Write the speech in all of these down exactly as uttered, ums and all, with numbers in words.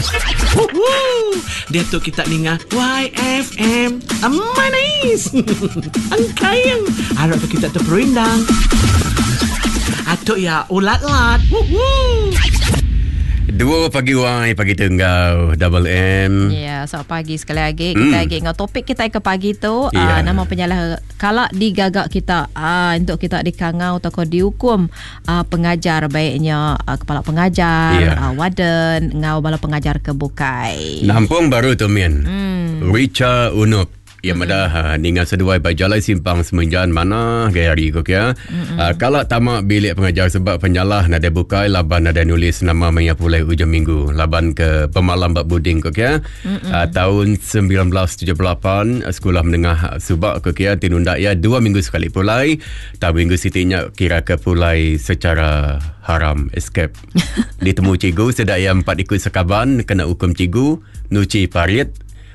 Woohoo! Diatu kita ninga Y F M. Manis. Engkayang. Harap kita terperindang. Atuk ya ulat-lat. Woohoo! Dua pagi wai pagi tenggau Double M. Ya, selamat pagi sekali lagi. Kita Hmm. lagi ngau topik kita ke pagi tu Ya. uh, nama penyalah kala digagak kita uh, untuk kita dikangau atau kau dihukum uh, pengajar, baiknya uh, kepala pengajar, Ya. uh, warden, ngau bala pengajar ke bukai. Nampung baru tu min. Hmm. Richa Unup. Ya madah ha, ninga seduai ba jalai simpang semenjan mana gaya hari ko kia. Uh, kala tamak bilik pengajar sebab penyalah nada bukai laban nada nulis nama maya pulai ujung minggu laban ke pemalam bak buding ko kia. Uh, tahun seribu semilan ratus tujuh puluh lapan sekolah menengah subak ko kia tinunda ya dua minggu sekali pulai. Tak minggu sitinya kira ke pulai secara haram, escape. Ditemu cikgu sedak ya empat ikut sekaban kena hukum cikgu nuci parit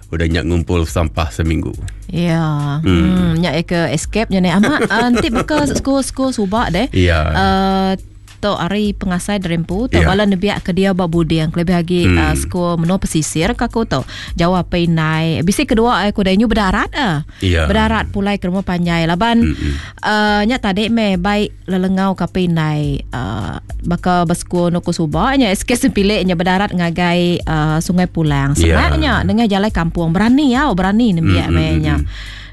udah nyak ngumpul sampah seminggu. Ya. Hmm, nyak ke escape nya ni amat uh, nanti baka school-school subak deh. Ya. Uh, tu hari pengasai derempu tu Ya. bala nebiak ke dia ba buding lebih lagi Hmm. hmm. uh, school menua pesisir ka aku tu jauh apa inai bisi kedua aku dah nyu berdarat ah. Ya. Berdarat pulai ke rumah panjai laban hmm. uh, nya tadi me baik lelengau ka pinai uh, baka bersekul nuku subak nya S K sempilik nya berdarat ngagai uh, Sungai Pulang Ya. sebabnya dengan jalan kampung berani ya berani nembiak Hmm, me hmm, nya.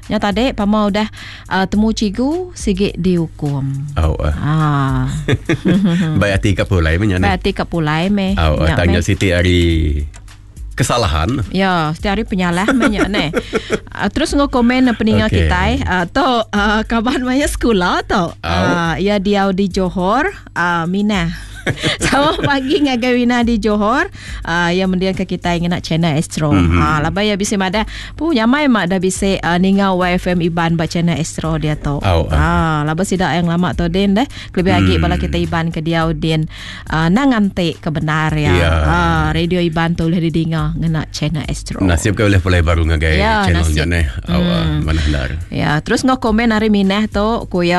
Nya tadi pama udah uh, temu cikgu sigit dihukum. Oh, uh. Ah. Baik hati kat pulai punya ni. Berarti kat pulai me. Oh, Nya tanya me. Siti hari kesalahan. Ya, setiap hari penyalah banyak ni. Uh, terus ngo komen peninga Okey. okay. kita uh, tu uh, kawan maya sekolah tu. Uh, ya dia di Johor, uh, Mina. Selamat pagi ngagai Wina di Johor. Uh, yang mendiang ke kita ingin nak channel Astro. Mm -hmm. Uh, labai ya bisa mada. Pu nyamai mak dah bisa uh, ninga Y F M Iban ba channel Astro dia tu. Au, ah. Ah, laba sidak yang lama tu din deh. Lebih lagi Hmm. bala kita Iban ke dia din uh, nang ngantik kebenar ya. Ya. Ah, radio Iban tu boleh didinga ngena channel Astro. Nasib kau boleh pulai baru ngagai Ya, channel nasib. nya ni. Oh, hmm. Mana hendar. Ya, terus ngau komen hari minah tu kuya.